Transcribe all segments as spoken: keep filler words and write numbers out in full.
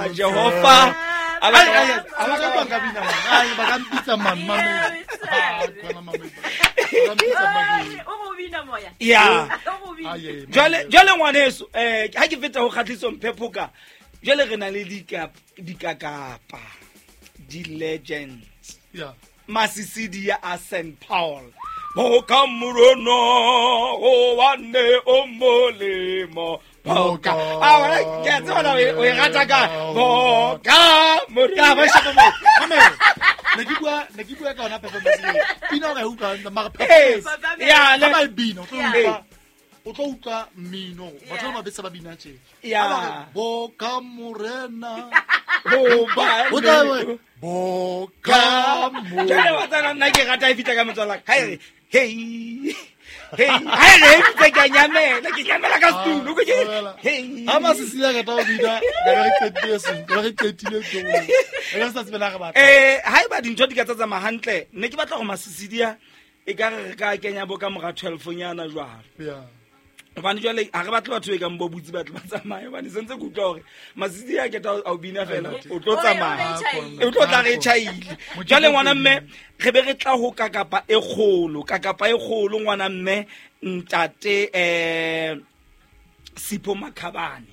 Jehova Ai ai ai ba ka bina man. Ai ba ka mpitsa man man. Ah kona mama. Ba ka mpitsa man. O go bina moya. Ya. O go bina. Ai ai. Jwale jwale ngwaneso eh ha ke feta ho Kgatliso Mphephoka jwale re na le dika dikakapa di legends Yeah. Masisidi ya a Saint Paul Boka morono o wane o molemo Boka ah wala ke a tseba na o e rata ka Boka Ya ba morena shapa mo. Mame. Ne ke bua ne ke bua ka yona performance eo. Pina o ka e utlwa mara Eh, performance. ya Ha le ba e bina o tlo Yeah. utlwa o tlo utlwa mmino. Batho ba ba besa ba bina tje. Yeah. Ha ba re, Boka morena. Boba O tla be Boka Jwale morena. wa tsana nna ke rata e fihla ka motswala ka ha e re hey hey ha e re e fihla ke a nyamela ke nyamela ka setulo ke Ah, hey Ha masisi a rata ho bina, ka be re qetile seng, ka be re qetile ntho. Re ka se tsebe la re batla. eh haeba dintho di ka tsa tsamaya hantle ne ke batla go masisidia e ka re re ka kenya bo ka mora twelve nyana jwalo Yeah. hobane jwale ha re batle batho e kang bo butse batho ba tsamaye hobane sentse ke utlwa hore masisi a keta a o bina fela o tlo tsamaya o tlo tla re tjhaile jwale ngwana mme re be re tla ho kakapa e kgolo kakapa e kgolo ngwana mme ntate eh Sipho Makhabane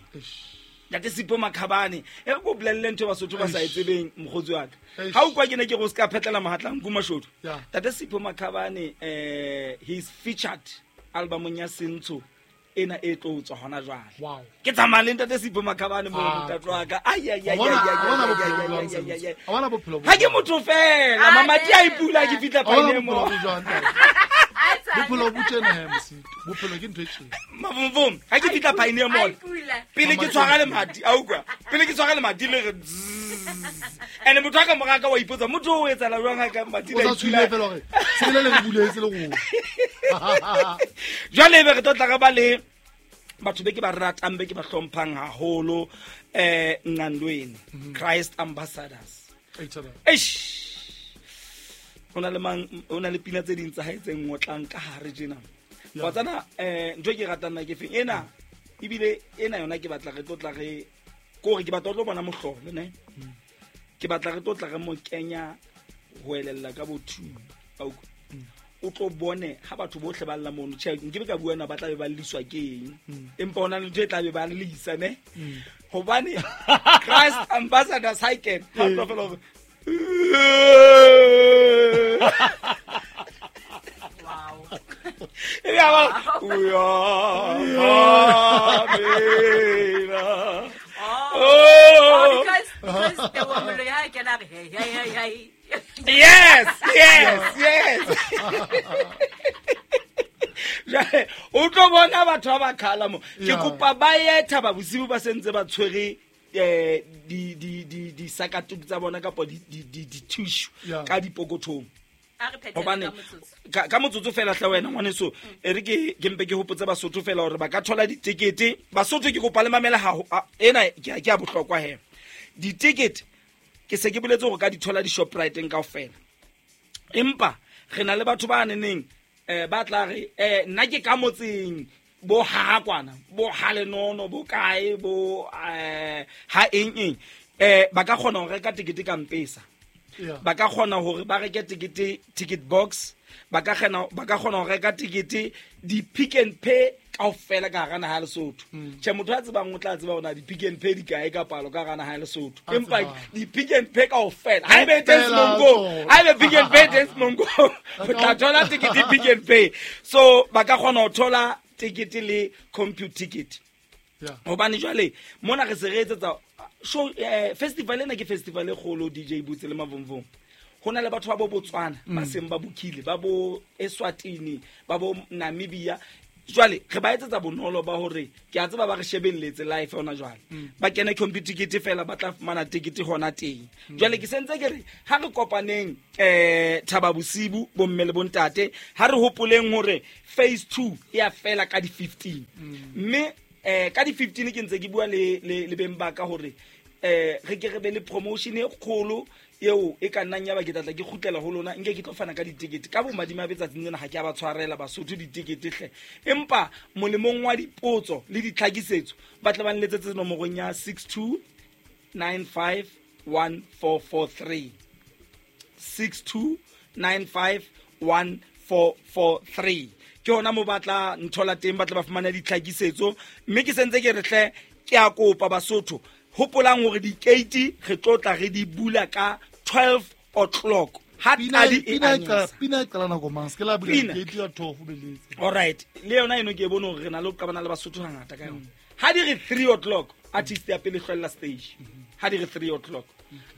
ntate Sipho Makhabane e re ko bolelle ntho e Basotho ba sa e tsebeng mokgotsi wa ka Eish. ha o kwa ke ne ke re o ska phetlela mohatla nku mashodu Yeah. ntate Sipho Makhabane eh he's featured albumong ya Sentsho ena e tlo tswa hona jwale Wow. ke tsamaya le ntate Sipho Makhabane mo Ah, ntate wa ka ai ai ai Wa bona- ai, wa bona ai, bophelo ai, bo jwang, ai, ai, ai, ai. Wa bona bophelo bo ha ke jwang? motho fela Ah, mamati a eh, ipula ke fihla Wa bona phaene bophelo mo bo jwang, ntate? Bophelo bo tjena he, Mosito. Bophelo ke ntho e tjena. mavumvum ha ke fihla phaene mall pele ke tshwara lemati a utlwa pele ke tshwara lemati le re zzzz. And motho a ka mora ka wa ipotsa motho o etsahala jwang ha ka mati O le sa ipula? tshohile fela hore sebele le re buletse le rona. Jwale ebe re tlo tla re ba le batho be ke ba ratang be ke ba hlomphang haholo eh Nqandweni Christ Ambassadors Eish, taba. eish ho na le mang ho na le pina tse ding tsa hae tse ngotlang ka hare tjena Yeah. wa tsana eh ntho e ke ratang nna ke feng ena ebile ena yona ke batla re tlo tla re kore ke batla ho tlo bona mohlolo ne ke batla re tlo tla re mo kenya ho elella ka bo two Wa utlwa? O tlo bone ha batho bohle ba lla mono tjhe nke be ka bua na ba tla be ba lliswa ke eng empa hona le ntho e tla be ba llisa ne hobane Christ Ambassadors ha e kena ha o tlo fela hore e be a ba uyamamela Oh, oh because because the woman ya kena re hey hey hey hey. yes yes yes Jwale, o tlo bona batho ba ba khala mo ke Yeah. kopa ba ye Thaba Bosiu ba sentse ba tshwere eh di di di di sakatuku tsa bona kapa di di di di-tissue Yeah. ka dipokothong A re phethele hobane ka motsotso. ka ka motsotso fela hle wena ngwaneso e re ke ke mpe ke hopotse Basotho fela hore ba ka thola ditekete Basotho ke kopa le mamela ha ena ke a- ke a bohlokwa he ditekete ke se ke boletse hore ka di thola di-Shoprite-eng kaofela empa re na le batho ba neneng um ba tla re um nna ke ka motseng bo ha kwana bo ha lenono bo kae bo um ha eng eng um ba ka kgona ho reka tekete ka Mpesa Yeah. ba ka kgona hore ba reke tekete ticket box ba ka kgona ba ka kgona ho reka tekete di-Pick n Pay kaofela ka hara naha ya Lesotho tjhe motho a tsebang o tla tseba hore na di-Pick n Pay di kae ka palo ka hara naha ya Lesotho A empa tsebang. di-Pick n Pay kaofela ha ebe teng Kaofela Semonkong tsona. ha ebe Pick n Pay teng Semonkong o tla thola tekete Pick n Pay so ba ka kgona ho thola tekete le compute ticket Yeah. hobane jwale mona re se re etsetsa show eh, festival ena ke festival e kgolo D J Boots le Mavumvum ho na le batho ba bo Botswana ba seng ba bukile ba bo Eswatini ba bo Namibia jwale re ba etsetsa bonolo ba hore ke a tseba ba re shebelletse live hona jwale ba kene computer ticket fela ba tla fumana ticket hona teng jwale ke sentse ke re ha re kopaneng eh Thaba Bosiu bomme le bontate ha re hopoleng hore phase two e a fela ka di fifteen mme eh ka di fifteen ke ntse ke bua le le le beng ba ka hore eh re ke re be le promotion e kgolo eo e ka nnang ya ba ke tlatla ke kgutlela ho lona nke ke tlo fana ka ditekete ka bomadimabe tsatsing lena ha ke a ba tshwarela Basotho ditekete hle empa molemong wa dipotso le ditlhakisetso ba tle ba nletsetse nomorong ya six two nine five one four four three. six two nine five one four four three. Ke hona mo batla nthola teng, batla ba fumana ditlhakisetso. Mme ke sentse ke re hle ke a kopa Basotho, hopolang hore di-gate re tlo tla re di bula ka twelve o'clock. Ha tadi e anyisa. Pina e qala nako mang? Se ke la bula gate ya twelve beletse. All right. Le yona eno ke e bone hore re na le ho qabana le Basotho hangata ka yona. Ha di re three o'clock, artist ya pele hlwella stage. Ha di re three o'clock,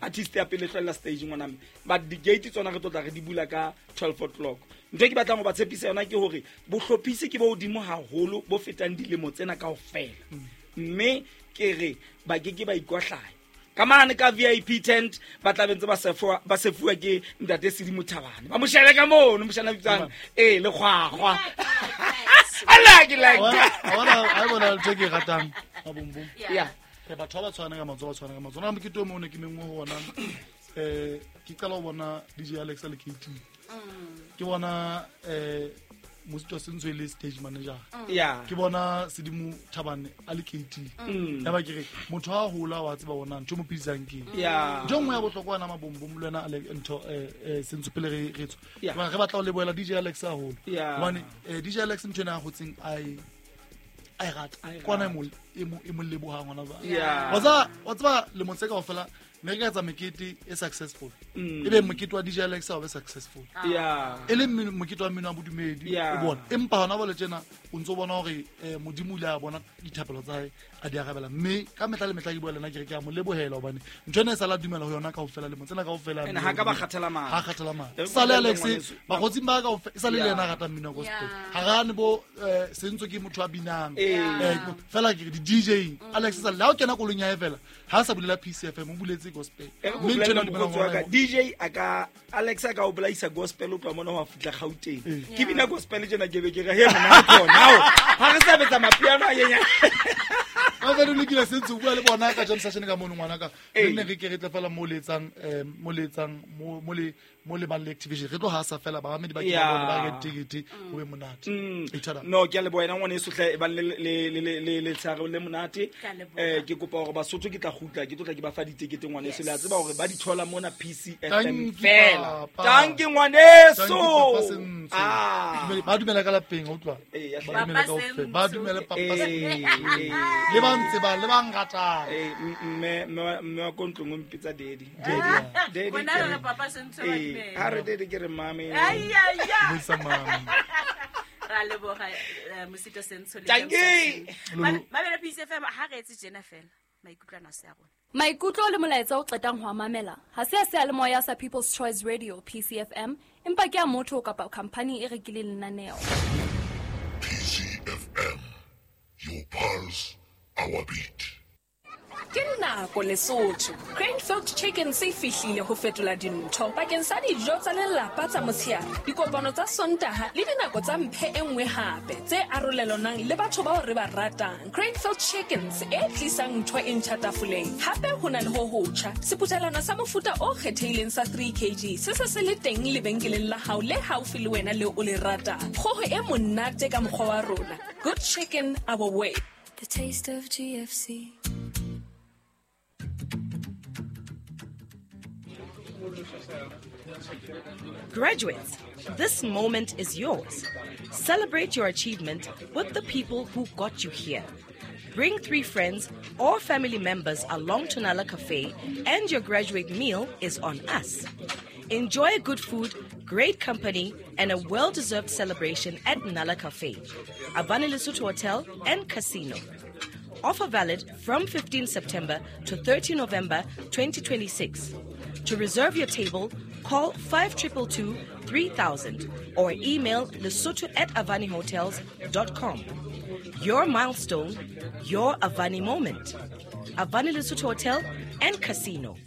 artist ya pele hlwella stage ngwana mme. But di-gate tsona re tlo tla re di bula ka twelve o'clock. Ntho e ke batlang ho ba tshepisa yona ke hore bohlophisi ke bo hodimo haholo bo fetang dilemo tsena kaofela. Mme ke re ba ke ke ba ikwahlaya. Ka mane ka V I P tent ba tla bentse ba sefuwa, ba sefuwa ke ntate Sedimo Thabane. Ba mo shebe ka mono, moshana bitsang eh le kgwakgwa. I like it like that. Wa bona, ha bona ntho ke ratang mabombom. Yeah. Re batho ba tshwana ka matsoho, ba tshwana ka matsoho. Na mokete o mong ne ke mengwe ho ona, eh ke qala ho bona D J Alex le K T. Ke bona eh Mosito Sentswe le stage manager. Yeah. Ke bona Sedimo Thabane a le K T. Ya ba ke re motho ha hola wa tseba bona ntho mo pidisang ke. Yeah. Ntho nngwe ya bohlokwa na mabombom le wena ale ntho eh eh Sentswe pele re re tswa. Re batla ho lebohela D J Alex haholo. Hobane D J Alex ntho ena a hotseng ai ai rata. Kwana e mo e mo e mo lebohang hona ba. Wa tseba wa tseba le motse kaofela ne re ka etsa mekete e successful. E be mokete wa D J Alex o be successful. Yeah. E le mokete wa mmino wa bodumedi o bona. Empa hona bole tjena o ntso bona hore Modimo o ile a bona dithapelo tsa hae a di arabela. Mme ka mehla le mehla ke bua le nna ke re ke a mo lebohela hobane ntho ena e sala dumela ho yona kaofela le motsena kaofela. Ene ha ka ba kgathala matla. Ha kgathala matla. Sale Alex bakgotsing ba kaofela e sale le yena a ratang mmino wa gospel. Ha rane bo Sentso ke motho a binang. Eh fela ke di D J Alex sa le ha o kena kolong ya hae fela ha sa bulela P C F M o buletse gospel. Mme ntho ena dumela D J a ka Alex a ka o bolaisa gospel o tloha mona ho fihla Gauteng. Ke bina gospel tjena ke be ke re he mona khona. Ha re sa betsa mapiano a yenya. Ba ba lokile Sentso bua le bona ka jam session ka mono ngwana ka. Re ne re ke re tle fela mo letsang eh mo letsang mo mo le mo le bang le activation re tlo ha sa fela ba mamedi ba ke ba bona ba re ticket ho be monate. No ke a leboha ena ngwane eso hle e bang le le le le le tshare le monate. Eh ke kopa hore Basotho ke tla kgutla ke tlo tla ke ba fa ditikete ngwane eso le a tseba hore ba di thola mona P C F M fela. Thank you ngwaneso. Ah ba dumela ka lapeng o utlwa. Ba dumela kaofela. Ba dumela papa. Le ba ntse ba le ba ngatang. Eh mme mme wa kontlong o mpitsa daddy. Daddy. Bona re papa Sentso ba dumela. Ha re daddy ke re mame. Ai ai ai. Buisa mame. Ra leboha Mosito Sentsho le Mamela P C F M ha re etse tjena fela maikutlo ana se a rona. Maikutlo le molaetsa o qetang ho a mamela ha se a seyalemoya sa People's Choice Radio P C F M empa ke a motho kapa company e rekileng lenaneo. P C F M, your pulse, our beat. Ke nako Lesotho. Cranefield Chicken se fihlile ho fetola dintho bakeng sa dijo tsa lelapa tsa motshehare, dikopano tsa Sontaha le dinako tsa mphe e nngwe hape tse arolelanang le batho bao re ba ratang. Cranefield Chickens e tlisang ntho e ntjha tafoleng. Hape ho na le ho hotjha seputhelwana sa mofuta o kgethehileng sa three kilograms se se se le teng lebenkeleng la hao le haufi le wena le o le ratang. Kgoho e monate ka mokgwa wa rona. Good chicken our way. The taste of G F C. Graduates, this moment is yours. Celebrate your achievement with the people who got you here. Bring three friends or family members along to Nala Cafe and your graduate meal is on us. Enjoy good food, great company, and a well-deserved celebration at Nala Cafe, Avani Lesotho Hotel and Casino. Offer valid from fifteenth September to thirtieth November twenty twenty-six. To reserve your table, call five two two two, three thousand or email lesotho at avani hotels dot com. Your milestone, your Avani moment. Avani Lesotho Hotel and Casino.